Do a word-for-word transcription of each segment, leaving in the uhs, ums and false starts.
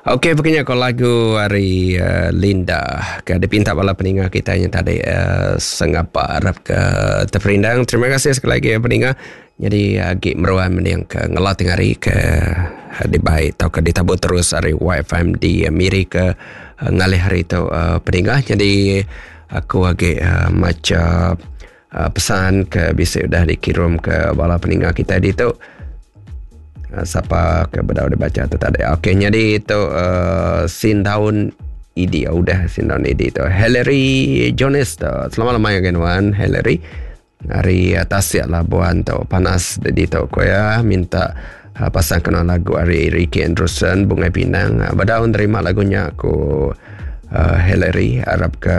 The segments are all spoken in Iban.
Okey, begini ko lagu ari uh, Linda ke dipinta bala peninga kita yang tadi uh, sengapa harap ke terperindang. Terima kasih sekali lagi peninga. Jadi agi meruan mending ke ngelatih hari ke dibai atau ke ditabur terus ari Y F M di Miri ke uh, ngalih hari tu uh, peninga. Jadi aku agi uh, maca uh, pesan ke bisa udah dikirim ke bala peninga kita di tu. Siapa ke bedau dibaca tu tadi. Okey, jadi itu uh, Sindaun I D. Udah Sindaun I D tu. Hillary Jones tu. Selamat lemai again wan Hillary. Hari Tasik Labuan tu panas di tu ko ya, minta uh, pasang kena lagu hari Ricky Anderson Bungai Pinang. Uh, bedau nerima lagunya aku uh, Hillary, harap ke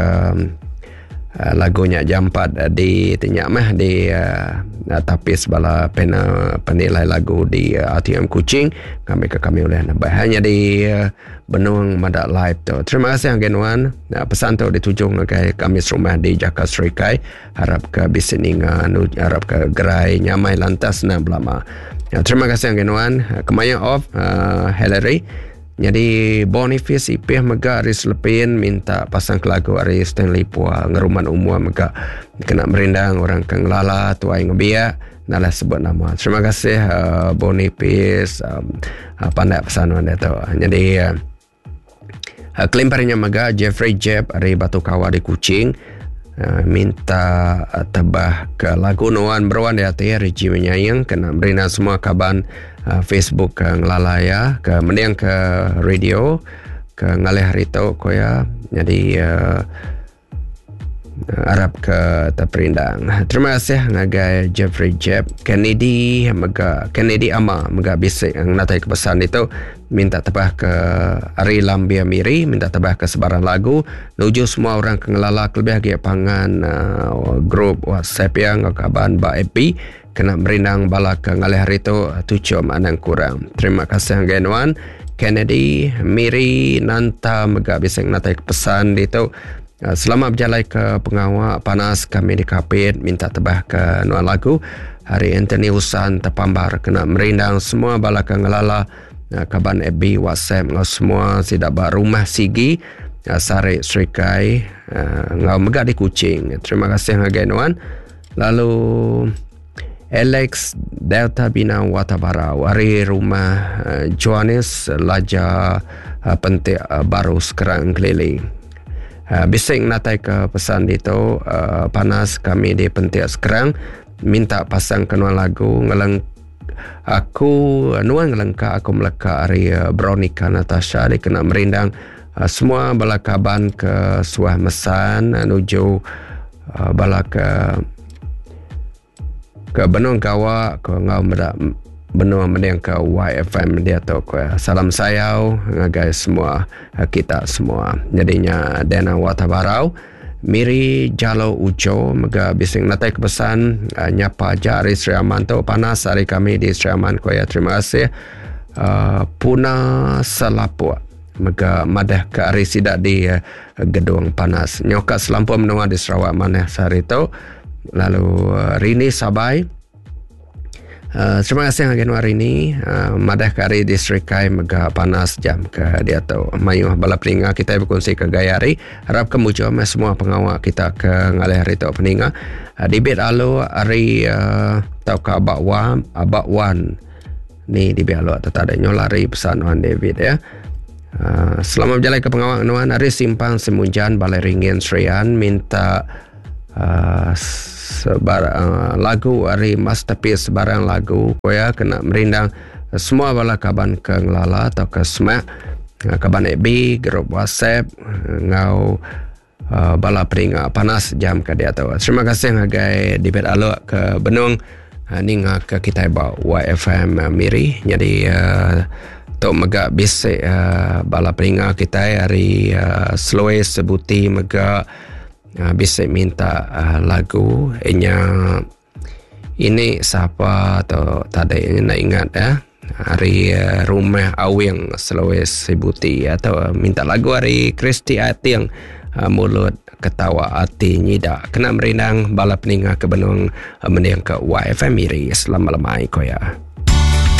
uh, lagunya jampat uh, di tinyak mah di uh, tapis bala pena penilai lagu di uh, A T M Kuching kami ke kami oleh nambah hanya di uh, Benung Madak Live tu. Terima kasih Genwan. Nah, pesan tu ditujung ke kami serumah di Jakarta Serikai. Harap ke bisik ninga, harap ke gerai nyamai lantas nak belama. Ya, terima kasih Genwan. Kemaya off uh, Hillary. Jadi Boniface Ipih mega ari Selepin minta pasang lagu ari Stanley Pua ngeruman umur mega kena merindang orang ke ngelala tuai ngebiak nalah sebut nama. Terima kasih uh, Boniface um, uh, pandai pesan anda tu. Jadi uh, kelimparnya mega Jeffrey Jeb ari Batu Kawa di Kuching uh, minta uh, tebah ke lagu Nuan Beruan di hati Regi Menyayang kena merindang semua kaban uh, Facebook ke ngelala ya, ke mending ke radio ke ngalih hari tu ko ya. Jadi uh, harap ke terperindang. Terima kasih ngagai Jeffrey Jeb, Kennedy mega Kennedy Ama mega bisik natai ke pesan itu minta tebah ke Ari Lambia Miri, minta tebah ke sebarang lagu nuju semua orang ke ngelala kelebih lagi pangan uh, grup WhatsApp yang kaban ba F B kena merindang bala ke ngalih hari tu tujuh anang kurang. Terima kasih Genwan Kennedy Miri Nanta mega bisik natai ke pesan itu. Selamat berjalan ke pengawak panas kami di Kapit minta tebah ke nuan lagu hari Anthony Usan terpambar kena merindang semua bala ke ngelala kaban F B WhatsApp ngau semua sidak ba rumah Sigi Sarik Serikai ngau mega di Kuching. Terima kasih ngagai nuan. Lalu Alex Delta Bina Watabara hari rumah Johannes Laja Pentik Baru Sekarang Keliling. Uh, bising natai ke pesan itu uh, panas kami di Pentik sekarang minta pasang kenuan lagu ngeleng aku nuan ngelengka aku meleka hari uh, Veronica Natasha dikena merindang uh, semua bala kaban ke suah mesan uh, nuju uh, bala ke ke Benung Gawa ke ngau medak benua mending ke Y F M dia tu ko. Salam sayau ngagai semua kita semua. Jadinya Dana Watabarau Miri Jalo Ujo mega bising natai ke pesan nyapa aja hari Sri Aman tu panas hari kami di Sri Aman ko ya. Terima kasih uh, Puna Selapuk mega madah ke hari sidak di uh, gedung panas nyoka selampur menua di Sarawak mana sehari tu. Lalu uh, Rini Sabai. Uh, terima kasih agen hari ini uh, madah ke hari di Serikai mega panas jam ke dia tu mayuh bala peninga kita berkongsi ke gaya hari harap kemujuan semua pengawak kita ke ngalih hari tu peninga uh, dibit alu hari uh, tau ke abak wan abak wan ni dibit alu atau tak ada nyolari pesan Wan David ya. Uh, selamat berjalan ke pengawak nuan hari Simpang Semunjan Balai Ringin Serian minta uh, sebar, uh, lagu hari masterpiece sebarang lagu koya kena merindang semua bala kaban ke ngelala atau ke semak kaban F B grup WhatsApp ngau uh, bala peringa panas jam ke dia tu. Terima kasih ngagai dibet alok ke Benung uh, ninga ke kita ba Y F M uh, Miri. Jadi uh, tok mega bisik uh, bala peringa kita hari uh, Sloe Sebuti mega Uh, bisa minta uh, lagu nya ini siapa atau tadi ini nak ingat ya hari uh, rumah Awing Sulawesi Sibuti atau uh, minta lagu hari Kristi Ating uh, mulut ketawa hati nyidak kena merindang bala peninga ke Benung uh, mending ke Y F M Miri. Selamat lemai ko ya.